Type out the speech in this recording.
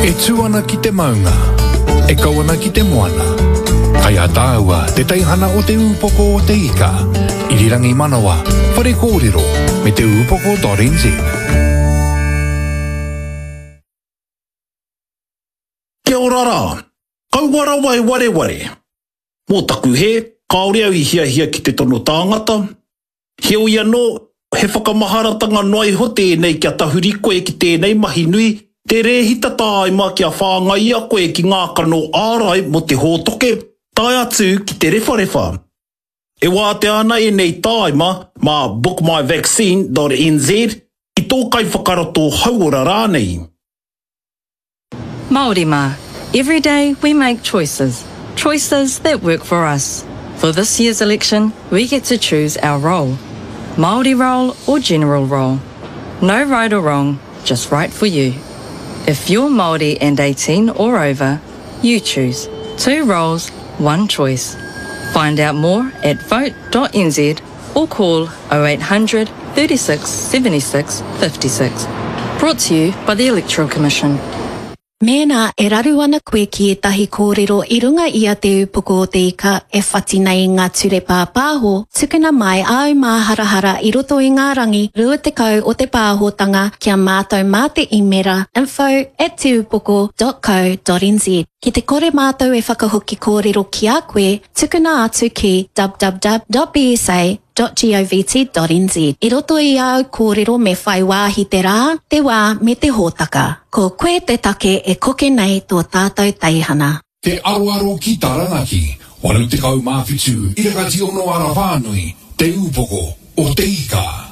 E tū ana ki te maunga, e kau ana ki te moana. Kai a tāua te teihana o Te Ūpoko o Te Ika, Irirangi Manawa, Whare Kōrero, me Te Ūpoko.nz. Kia ora rā. Kaua rawa e wareware. Mō taku hē, kāore au i hiahia ki te tono tāngata. Heoi anō, he whakamaharatanga noa iho tēnei kia tahuri koe ki tēnei mahi nui, te rēhita tāima kia whāngaia koe ki ngā kano ārai mō te hōtoke, tae atu ki te rewharewha. E wātea ana ēnei tāima mā bookmyvaccine.nz, ki tō kaiwhakarato hauora rānei. Māori mā, every day we make choices. Choices that work for us. For this year's election, we get to choose our role. Māori role or general role. No right or wrong, just right for you. If you're Māori and 18 or over, you choose. Two roles, one choice. Find out more at vote.nz or call 0800 36 76 56. Brought to you by the Electoral Commission. Mēnā e raru ana koe ki ētahi kōrero i runga i a Te Ūpoko o Te Ika e whati nei i ngā ture pāpāho, tukuna mai āu māharahara i roto i ngā rangi 20 o te pāhotanga ki a mātou mā te īmera info at teupoko.co.nz. Ki te kore mātou e whakahoki kōrero ki a koe, tukuna atu ki www.bsa.govt.nz. I roto i āu kōrero me whai wāhi te rā, te wā me te hōtaka. Ko koe te take e koke nei tō tātou teihana. Te Aroaro ki Taranaki, 87 Irakati Ono Ara Whānui, Te Ūpoko o Te Ika.